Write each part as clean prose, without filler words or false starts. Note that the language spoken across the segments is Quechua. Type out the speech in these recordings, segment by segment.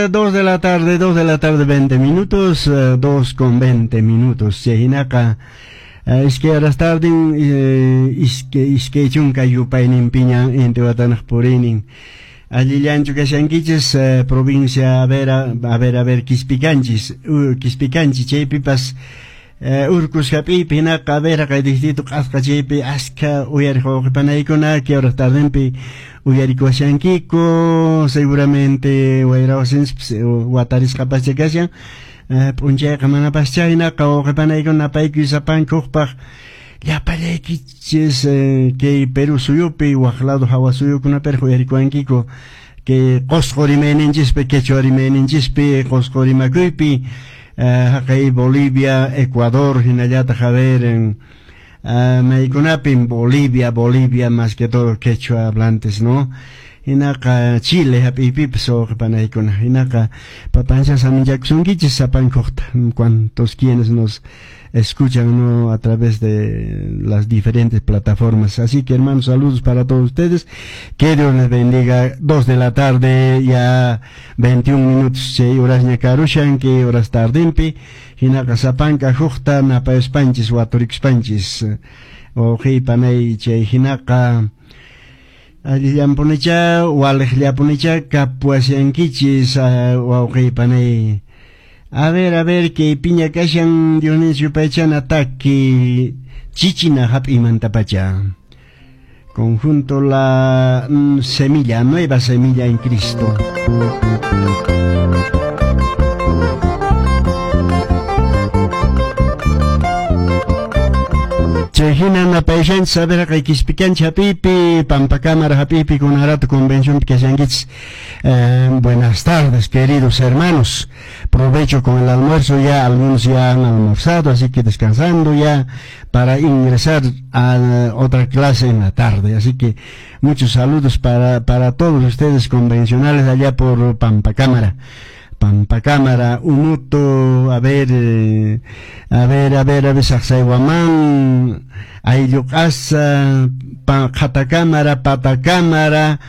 2 de la tarde, 2 de la tarde, 20 minutos, 2 con 20 minutos. Chayhinaqa, iskay horas tarden, iskay chunka yupayninpiña Intihuatanaq puriynin. Allillanchu kashankichis, provincia, a ver, a ver, a ver, Quispicanchis, Quispicanchi, chaypipas, urkus hap'iypi hinaqa, a ver, kay distrito q'asqa chaypi askha uyariq wawqipanaykuna, kay horas tardenpi uyarikuwashankiku, seguramente wayra wasinchis watarisqapascha kashan, p'unchayqa manapascha hinaqa wawqipanaykuna napaykuy sapankuqpaq llapallaykichis, kay Perú suyupi waq lado hawa suyukunapiraq uyarikuwankiku, kay Qosqo rimayninchispi, quechua rimayninchispi, Qosqo rimakuypi, haqay Bolivia, Ecuador, hinallataq, a ver, en maykunapin Bolivia, Bolivia más que todo quechua hablantes, ¿no? Hinaqa Chile hap'iypipas wawqipanaykuna, hinaqa papancha saminchakusunkichis sapankuqta, cuantos quienes nos escuchan, ¿no?, a través de las diferentes plataformas. Así que, hermanos, saludos para todos ustedes. Que Dios les bendiga. 2 de la tarde, ya 21 minutos, chay horasña karushan, kay horas tardinpi. Hinaqa sapanka huqta napayuspanchis, waturikuspanchis. Wawqipanay chay hinaqa allillanpunicha, waliqllapunicha kapuwashankichis, wawqipanay. A ver, kay piña kashan Dionisio yupaychana taki chichina hap'imantapacha. Conjunto La Semilla, Nueva Semilla en Cristo. Chay hina napayashanchis, a ver, kay Quispicanchi hap'ipi, Pampacámara hap'ipi, kunarato convención kashankichis. Buenas tardes, queridos hermanos. Provecho con el almuerzo, ya algunos ya han almorzado, así que descansando ya para ingresar a otra clase en la tarde. Así que muchos saludos para todos ustedes convencionales allá por Pampacámara. Pampacámara, Unuto, a ver, a ver, a ver, a ver, Sacsayhuamán, Aylluqasa, Qhatacámara, Patacámara,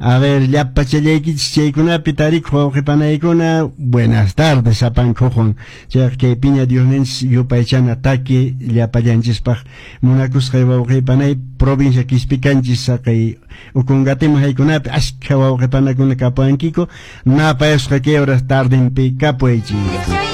a ver, llapachallaykichis chaykunapi tarikuq wawqipanaykuna, buenas tardes, sapankuqwan. Chayqa kay piña Diosninchis yupaychana taki llapallanchispaq munakusqay wawqipanay provincia Quispicanchis saqay Ucungatima haykunapi askha wawqipanakuna kapuwankiku, napayasqa kay horas tardenpi kapuwaychis.